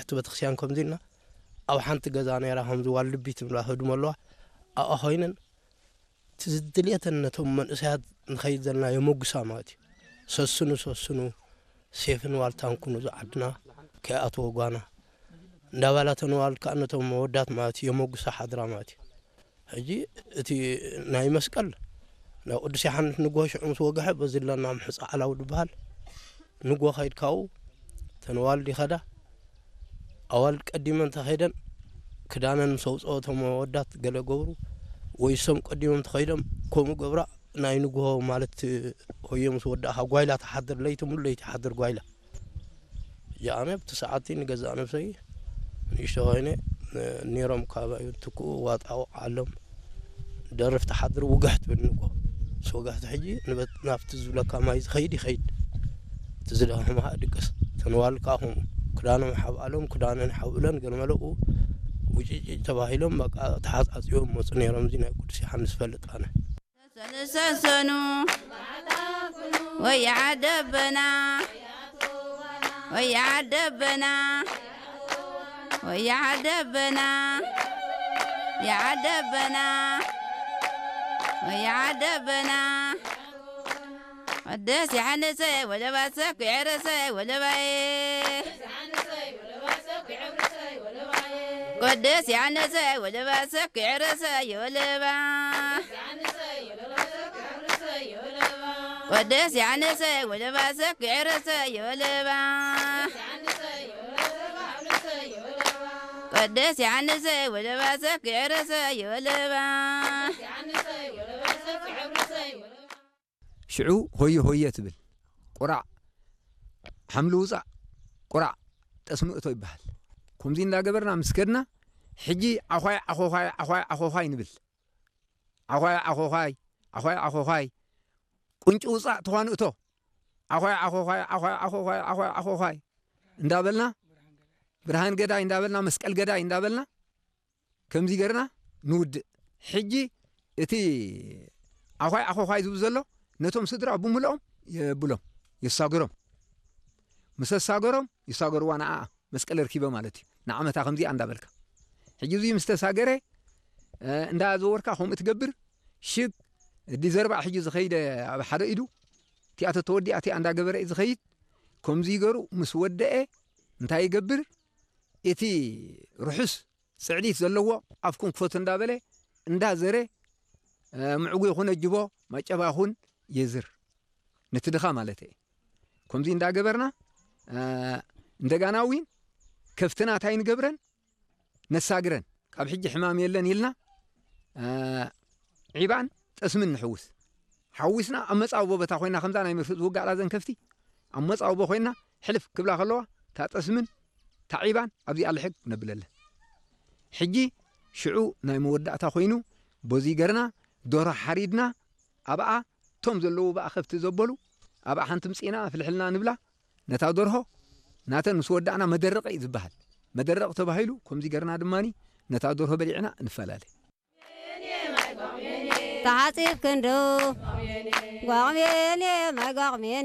እቲ ቤተክርስትያን ከምዚ ኢልና ኣብ ሓንቲ ገዛ ነይራ፣ ከምዚ ዋልድቢ ትብላ ህድሞ ኣለዋ። ኣብኣ ኮይነን እቲ ዝድልየተን ነቶም መንእሰያት ንኸይድ ዘለና የመጉሳ ማለት እዩ። ሰስኑ፣ ሰስኑ፣ ሴፍን ዋልታን ኩኑ፣ እዚ ዓድና ከይኣተወ ጓና እንዳባላ ተነዋልድ ከኣ ነቶም መወዳት ማለት እዩ፣ የመጉሳ ሓድራ ማለት እዩ። ሕጂ እቲ ናይ መስቀል ናብ ቅዱስ ዮሓንስ ንግሆ ሽዑ ምስ ወግሐ፣ በዚ ኣለና ምሕፃ ዓላው ዝበሃል ንግሆ ከይድካው ተነዋልድ ይኸዳ። ኣዋልድ ቀዲመን ተኸይደን ክዳነን ምስ ኣውፅኦ፣ እቶም መወዳት ገለ ገብሩ፣ ወይ እሶም ቀዲሞም ተኸይዶም ከምኡ ገብራ። ናይ ንግሆ ማለት ሆየ ምስ ወዳእኻ ጓይላ ትሓድር፣ ለይቲ ሙሉ ለይቲ ሓድር ጓይላ። እጂ ኣነ ኣብቲ ሰዓትቲ ንገዛእ ነብሰይ ንእሽቶ ኮይነ፣ ነ-፣ ነይሮም ካባዩ ትክኡ ዋጣ ወቃሎም ደርፍ ትሓድር ውግሕ ትብል ንግሆ። ምስ ወግሕቲ ሕጂ ንበት-፣ ናብቲ ዝብለካ ማይ ዝኸይድ ይኸይድ። እቲ ዝደኸመ ኸዓ ድቅስ። ተንዋል ከኣ ከምኡ። ክዳኖም ሓብኣሎም፣ ክዳነን ሓብእለን፣ ገለ መለኡ ውጭጭ ተባሂሎም፣ በቃ ተሓጻጽዮም መጹ ነይሮም። እዚ ናይ ቅዱስ ዮሓንስ ፈልጥ ኣነ። ሰኑ ሰኑ ወይ ዓደበና፣ ወይ ዓደበና፣ ወይ ዓደበና፣ የዓደበና፣ ወይ ዓደበና። ቅዱስ ዮሓንስ ወለባሰ ኩዕረሰ ወለባዬ። ቅዱስ ዮሐንስ ወለባሰ ክዕርሰ ይወለባ። ቅዱስ ዮሐንስ ወለባሰ ክዕርሰ ይወለባ። ቅዱስ ዮሐንስ ወለባሰ ክዕርሰ ይወለባ። ሽዑ ሆየ ሆየ ትብል። ቁራዕ ሓምሊ ውጻእ፣ ቁራዕ ጠስሚ እቶ ይበሃል። ከምዚ እንዳገበርና ምስ ከድና፣ ሕጂ ዓዃይ ዓኾዃይ፣ ዓዃይ ዓኾዃይ ንብል። ዓዃይ ዓኾዃይ፣ ዓዃይ ዓኾዃይ፣ ቁንጪ ውጻእ ትዃን እቶ። ዓዃይ ዓኾዃይ፣ ዓዃይ ዓኾዃይ፣ ዓዃይ ዓኾዃይ እንዳበልና፣ ብርሃን ገዳይ እንዳበልና፣ መስቀል ገዳይ እንዳበልና፣ ከምዚ ገርና ንውድእ። ሕጂ እቲ ዓዃይ ዓኾዃይ ዝብል ዘሎ ነቶም ስድራ ብምልኦም የብሎም፣ የሳገሮም። ምስ ኣሳገሮም ይሳገርዋ ንዓኣ መስቀል ኣርኪበ ማለት እዩ። ንዓመታ ከምዚኣ እንዳበልካ። ሕጂ እዚ ምስ ተሳገረ፣ እ፣ እንዳዘወርካ ከምኡ ትገብር። ሽግ፣ እዲ ዘርባዕ ሕጂ ዝኸይደ ኣብ ሓደ ኢዱ፣ እቲኣ ተተወዲኣ እቲኣ እንዳገበረ እዩ ዝኸይድ። ከምዚ ይገሩ ምስ ወደአ እንታይ ይገብር? እቲ ርሑስ ጽዕዲት ዘለዎ ኣፍኩም ክፈቱ እንዳበለ፣ እንዳዘረ፣ እ፣ ምዕጉ ይኹን ኣጅቦ፣ ማጨባ ይኹን የዝር። ነቲ ድኻ ማለት እየ። ከምዚ እንዳገበርና፣ እ፣ እንደጋና እውን ከፍትና እንታይ ንገብረን? ነሳግረን። ካብ ሕጂ ሕማም የለን ኢልና፣ እ፣ ዒባን ጠስምን ንሕውስ። ሓዊስና ኣብ መጻብቦ ቦታ ኮይና፣ ከምዛ ናይ መርፍእ ዝውጋላ ዘን ከፍቲ፣ ኣብ መጻብቦ ኮይና ሕልፍ ክብላ ከለዋ፣ እታ ጠስምን እታ ዒባን ኣብዚኣ ልሕግ ነብለለን። ሕጂ ሽዑ ናይ መወዳእታ ኮይኑ፣ በዚ ገርና፣ ዶሮ ሓሪድና፣ ኣብኣ እቶም ዘለዉ ብኣ ከፍቲ ዘበሉ፣ ኣብኣ ሓንቲ ምጺና ፍልሕልና ንብላ። ነታ ደርሆ ናተን ምስ ወዳእና መደረቕ እዩ ዝበሃል። መደረቕ ተባሂሉ፣ ከምዚ ገርና ድማኒ ነታ ደርሆ በሊዕና ንፈላለ። ተሓጺብ ክንዱ ጓቕሜኔ ማይ ጓቕሜኔ